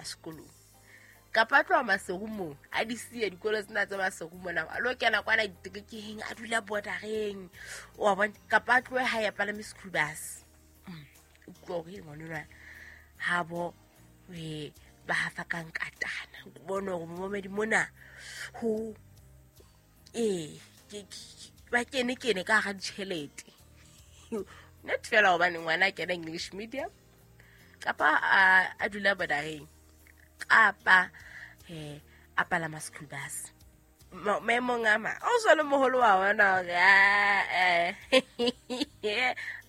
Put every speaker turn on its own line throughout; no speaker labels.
sekolong kapa a tloha Maseru moo a di siya dikolo tsena tsa Maseru mona a lo kena kwana diterekeng a dula bordereng wa bona kapa a tlohe ha ya palame school bus. Utlwa hore ngwanenwa ha bo ba hafa ka nkatana o bone hore momamedi mona ho ba kene ka hara ditjhelete not fela hobane ngwana a kena English medium kapa a dula bordereng kapa a palama school bus. Maemong a mang o sa le moholo wa bona hore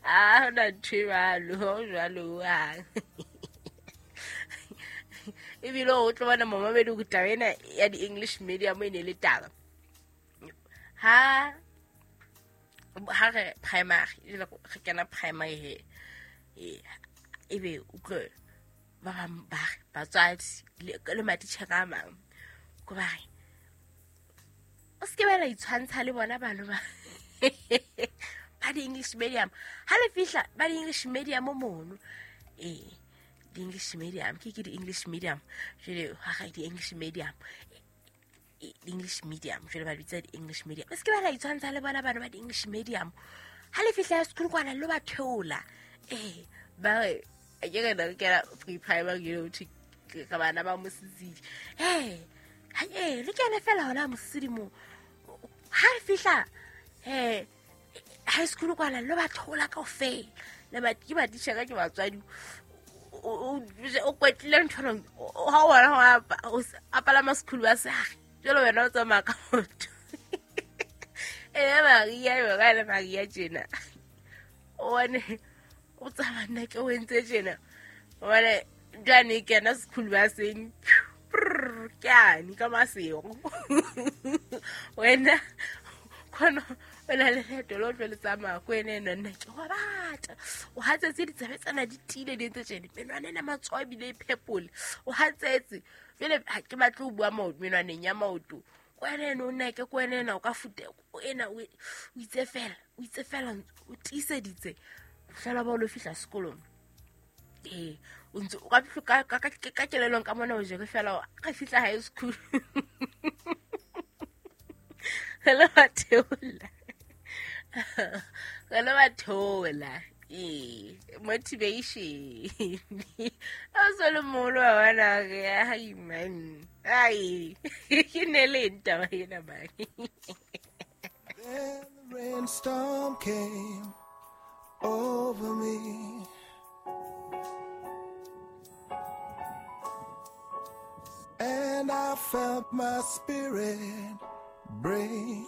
a hona ntho e jwalo jwalo hohang. Ebile o tlo bona momamedi hore taba ena ya di-English medium e ne le taba ha re primary re kena primary he ebe utlwe ba bang ba re batswadi le matitjhere a mang ko ba re o se ke ba la itshwantsha le bona bano ba ba di-English medium ha le fihla ba di-English medium mono di-English medium ke di-English medium jwale ha re di-English medium di-English medium jwale ba bitsa di-English medium o se ke ba la itshwantsha le bona bano ba di-English medium ha le fihla sekolo kwana lo ba theola ba re ke re re kena pre primary you know ka bana ba mosisidi le kene fela hona mosisidi mo ha re fihla high school kwana lo ba theola kaofela le ba ke batitjhere ke batswadi o kwetlile ntho ha o bona a palama school bus jwale wena o tsamaya ka maoto Maria yona le Maria tjena o bone o tsamaya nna ke o entse tjena hobane jwane kena school buseng ke ane ka Maseru wena khona o na le leeto le o tlo le tsamaya ko ene eno nna ke wa bata o hatsetse ditsebe tsena di tiile di entse tjena menwana ena matsoho ebile e phepole o hatsetse jwale ha ke batle ho bua menwaneng ya maoto ko ene eno o nna ke ko ene ena o ka fute ena o itse fela o tiiseditse fela ba o lo fihla sekolong o ntse o ka kelellong ka mona o jere fela re fihla high school re le ba theola motivation o so le moholo wa bona re ai man ai ke ne le eng taba ena man.
Then the rainstorm came over me. And I felt my spirit break.